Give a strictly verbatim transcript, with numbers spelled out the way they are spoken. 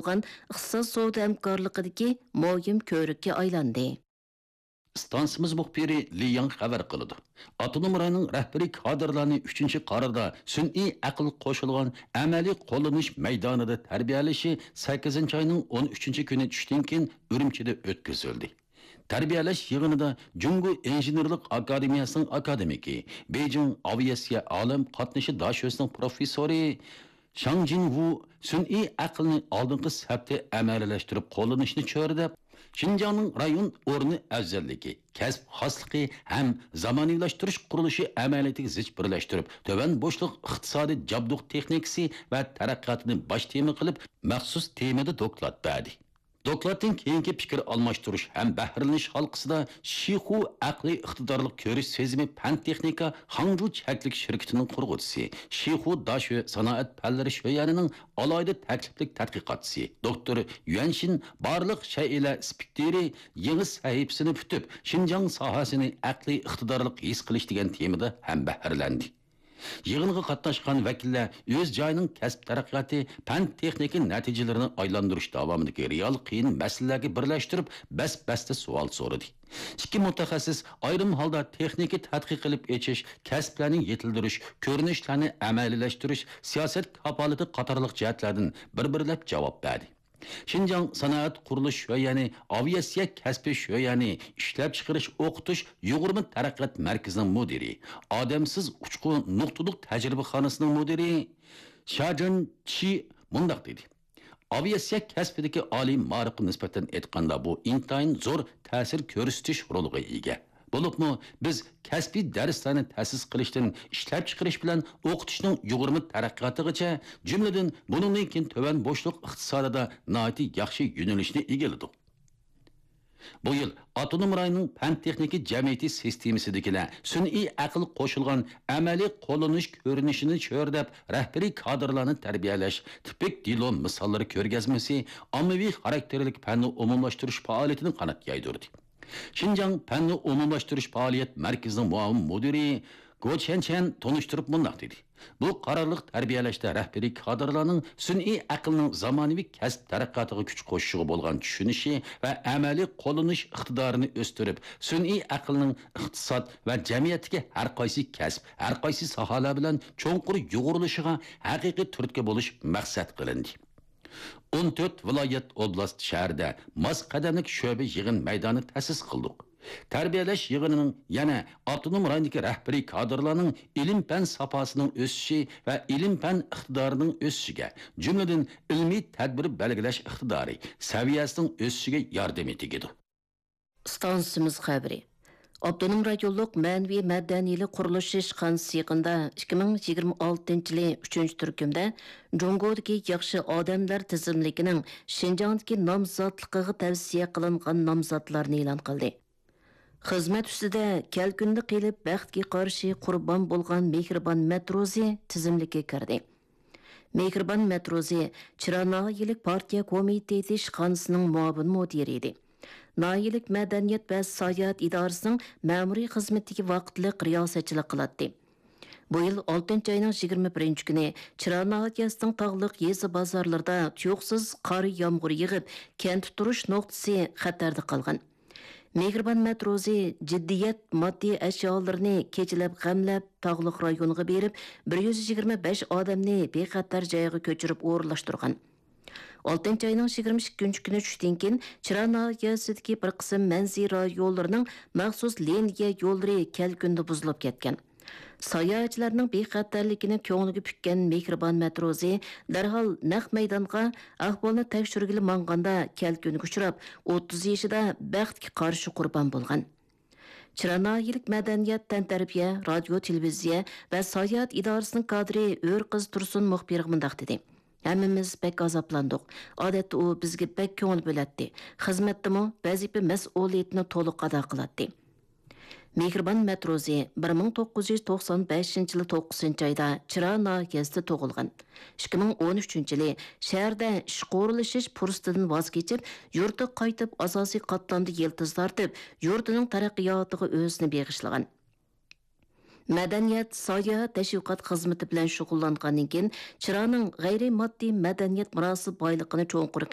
بولغان ئىقتىساد سودا ھەمكارلىقىدىكى مۇھىم كۆۋرۈككە ئايلاندى. ئىستانسىمىز مۇخبىرى لى ياڭ خەۋەر قىلىدۇ. ئاپتونوم رايوننىڭ رەھبىرىي كادىرلارنى ئۈچىنچى قارىدا سۈنئىي ئەقىل قوشۇلغان ئەمەلىي قوللىنىش مەيدانىدا تەربىيەلىشى سەككىزىنچى ئاينىڭ ئون ئۈچىنچى كۈنى چۈشتىن كېيىن ئۈرۈمچىدە ئۆتكۈزۈلدى. تەربىيەلەش يىغىنىدا جۇڭگو ئىنژېنېرلىق ئاكادېمىيەسىنىڭ ئاكادېمىكى، بېيجىڭ ئاۋىئاتسىيە ئالەم قاتنىشى داشۆسىنىڭ پروفېسسورى شاڭ جىنۋۇ سۈنئىي ئەقىلنى ئالدىنقى سەپتە ئەمەلىيلەشتۈرۈپ قوللىنىشنى چۆرىدەپ، شىنجاڭنىڭ رايون ئورنى ئەۋزەللىكى، كەسىپ خاسلىقى ھەم زامانىۋىلاشتۇرۇش قۇرۇلۇشى ئەمەلىيىتىگە زىچ بىرلەشتۈرۈپ، تۆۋەن بوشلۇق ئىقتىسادىي جابدۇق تېخنىكىسى ۋە تەرەققىياتىنى باش تېما قىلىپ، مەخسۇس تېمىدا دوكلات بەردى. دوكلاتتىن كېيىنكى پىكىر ئالماشتۇرۇش ھەم بەھرىلىنىش ھالقىسىدا شىخۇ ئەقلىي ئىقتىدارلىق كۆرۈش سېزىمى پەن تېخنىكا خاڭجۇ چەكلىك شىركىتىنىڭ قۇرغۇچىسى، شىخۇ داشۆ سانائەت پەنلىرى شۆيەنىنىڭ ئالاھىدە تەكلىپلىك تەتقىقاتچىسى، دوكتور يۈەنشىن بارلىق شەيئىلەر سپېكتىرى يېڭى سەھىپىسىنى پۈتۈپ، شىنجاڭ ساھەسىنى ئەقلىي ئىقتىدارلىق ھېس قىلىش دېگەن تېمىدا ھەمبەھىرلەندى. يىغىنغا قاتناشقان ۋەكىللەر ئۆز جايىنىڭ كەسىپ تەرەققىياتى، پەن تېخنىكا نەتىجىلىرىنى ئايلاندۇرۇش داۋامىدىكى رېئال قىيىن مەسىلىلەرگە بىرلەشتۈرۈپ، بەس-بەستە سوئال سورىدى. ئىككى مۇتەخەسسىس ئايرىم ھالدا تېخنىكا تەتقىق قىلىپ ئېچىش، كەسىپلەرنى يېتىلدۈرۈش، كۆرۈنۈشلەرنى ئەمەلىيلەشتۈرۈش، سىياسەت كاپالىتى قاتارلىق جەھەتلەردىن بىر-بىرلەپ جاۋاب بەردى. شىنجاڭ سانائەت قۇرۇلۇش شۆيەنى، ئاۋىئاتسىيە كەسپى شۆيەنى، ئىشلەپچىقىرىش ئوقۇتۇش يۇغۇرما تەرەققىيات مەركىزىنىڭ مۇدىرى، ئادەمسىز ئۇچقۇ نۇقتىلىق تەجرىبىخانىسىنىڭ مۇدىرى شاجېن چى مۇنداق دېدى: ئاۋىئاتسىيە كەسپىدىكى ئالىي مائارىپقا نىسبەتەن ئېيتقاندا، بۇ ئىنتايىن زور تەسىر كۆرسىتىش رولىغا ئىگە. بولۇپمۇ بىز كەسپىي دەرسلەرنى تەسىس قىلىشتىن ئىشلەپچىقىرىش بىلەن ئوقۇتۇشنىڭ يۇغۇرما تەرەققىياتىغىچە، جۈملىدىن بۇنىڭدىن كېيىن تۆۋەن بوشلۇق ئىقتىسادىدا ناھايىتى ياخشى يۆنىلىشنى ئىگىلىدۇق. بۇ يىل ئاپتونوم رايوننىڭ پەن تېخنىكا جەمئىيىتى سىستېمىسىدىكىلەر سۈنئىي ئەقىل قوشۇلغان ئەمەلىي قوللىنىش كۆرۈنۈشىنى چۆرىدەپ، رەھبىرىي كادىرلارنى تەربىيەلەش تىپىك دېلو مىساللىرى كۆرگەزمىسى ئاممىۋى خاراكتېرلىك پەننى ئومۇملاشتۇرۇش پائالىيىتىنى قانات يايدۇردى. شىنجاڭ پەننى ئومۇملاشتۇرۇش پائالىيەت مەركىزىنىڭ مۇئاۋىن مۇدىرى گو چيەنچيەن تونۇشتۇرۇپ مۇنداق دېدى: بۇ قارارلىق تەربىيەلەشتە رەھبىرىي كادىرلارنىڭ سۈنئىي ئەقىلنىڭ زامانىۋى كەسىپ تەرەققىياتىغا كۈچ قوشۇشىغا بولغان چۈشىنىشى ۋە ئەمەلىي قوللىنىش ئىقتىدارىنى ئۆستۈرۈپ، سۈنئىي ئەقىلنىڭ ئىقتىساد ۋە جەمئىيەتتىكى ھەر قايسى كەسىپ، ھەر قايسى ساھەلەر بىلەن چوڭقۇر يۇغۇرۇلۇشىغا ھەقىقىي تۈرتكە بولۇش مەقسەت قىلىندى. ئون تۆت ۋىلايەت، ئوبلاست، شەھەردە ماس قەدەملىك شۆبە يىغىن مەيدانى تەسىس قىلدۇق. تەربىيەلەش يىغىنىنىڭ يەنە ئاپتونوم رايوندىكى رەھبىرىي كادىرلارنىڭ ئىلىم-پەن ساپاسىنىڭ ئۆسۈشى ۋە ئىلىم-پەن ئىقتىدارىنىڭ ئۆسۈشىگە، جۈملىدىن ئىلمىي تەدبىر بەلگىلەش ئىقتىدارى سەۋىيەسىنىڭ ئۆسۈشىگە ياردىمى تېگىدۇ. ئىستانسىمىز خەۋىرى. ئاپتونوم رايونلۇق مەنىۋى مەدەنىيلىك قۇرۇلۇشى ئىشخانىسى يېقىندا ئىككى مىڭ يىگىرمە ئالتىنچى يىلى ئۈچىنچى تۈركۈمدە جۇڭگودىكى ياخشى ئادەملەر تىزىملىكىنىڭ شىنجاڭدىكى نامزاتلىقىغا تەۋسىيە قىلىنغان نامزاتلارنى ئېلان قىلدى. خىزمەت ئۈستىدە كەلكۈندە قېلىپ، بەختكە قارشى قۇربان بولغان مېھرىبان مەتروزى تىزىملىككە كىردى. مېھرىبان مەتروزى چىرا ناھىيەلىك پارتىيە كومىتېتى ئىشخانىسىنىڭ مۇئاۋىن مۇدىرى ئىدى. ناھىيەلىك مەدەنىيەت ۋە ساياھەت ئىدارىسىنىڭ مەمۇرىي خىزمىتىگە ۋاقىتلىق رىياسەتچىلىك قىلاتتى. بۇ يىل ئالتىنچى ئاينىڭ يىگىرمە بىرىنچى كۈنى چىرا ناھىيەسىنىڭ تاغلىق يېزا بازارلىرىدا تۇيۇقسىز قار يامغۇر يېغىپ، كەنتتە تۇرۇش نۇقتىسى خەتەردە قالغان. مېھرىبان مەتروزى جىددىيەت ماددىي ئەشيالىرىنى كېچىلەپ غەملەپ، تاغلىق رايونغا بېرىپ، بىر يۈز يىگىرمە بەش ئادەمنى بىخەتەر جايغا كۆچۈرۈپ ئورۇنلاشتۇرغان. ئالتىنچى ئاينىڭ يىگىرمە ئىككىنچى كۈنى چۈشتىن كېيىن، چىرا ناھىيەسىدىكى بىر قىسىم مەنزىرە رايونلىرىنىڭ مەخسۇس لىنىيە يوللىرى كەلكۈندە بۇزۇلۇپ كەتكەن. ساياھەتچىلەرنىڭ بىخەتەرلىكىنى كۆڭلىگە پۈككەن مېھرىبان مەتروزى دەرھال نەق مەيدانغا ئەھۋالنى تەكشۈرگىلى ماڭغاندا، كەلكۈنگە ئۇچراپ، ئوتتۇز يېشىدا بەختكە قارشى قۇربان بولغان. چىرا ناھىيەلىك مەدەنىيەت، تەنتەربىيە، رادىيو، تېلېۋىزىيە ۋە ساياھەت ئىدارىسىنىڭ كادىرى ئۆرقىز تۇرسۇن مۇخبىرغا مۇنداق دېدى: ھەممىمىز بەك ئازابلاندۇق. ئادەتتە ئۇ بىزگە بەك كۆڭۈل بۆلەتتى. خىزمەتتىمۇ ۋەزىپە مەسئۇلىيىتىنى تولۇق ئادا قىلاتتى. مېھرىبان مەتروزى بىر مىڭ توققۇز يۈز توقسان بەشىنچى يىلى توققۇزىنچى ئايدا چىرا ناھىيەسىدە تۇغۇلغان. ئىككى مىڭ ئون ئۈچىنچى يىلى شەھەردە ئىشقا ئورۇنلىشىش پۇرسىتىدىن ۋاز كېچىپ، يۇرتىغا قايتىپ، ئاساسىي قاتلامدا يىلتىز تارتىپ، يۇرتىنىڭ تەرەققىياتىغا ئۆزىنى بېغىشلىغان. مەدەنىيەت، ساياھەت، تەشۋىقات خىزمىتى بىلەن شۇغۇللانغاندىن كېيىن، چىرانىڭ غەيرىي ماددىي مەدەنىيەت مىراسى بايلىقىنى چوڭقۇر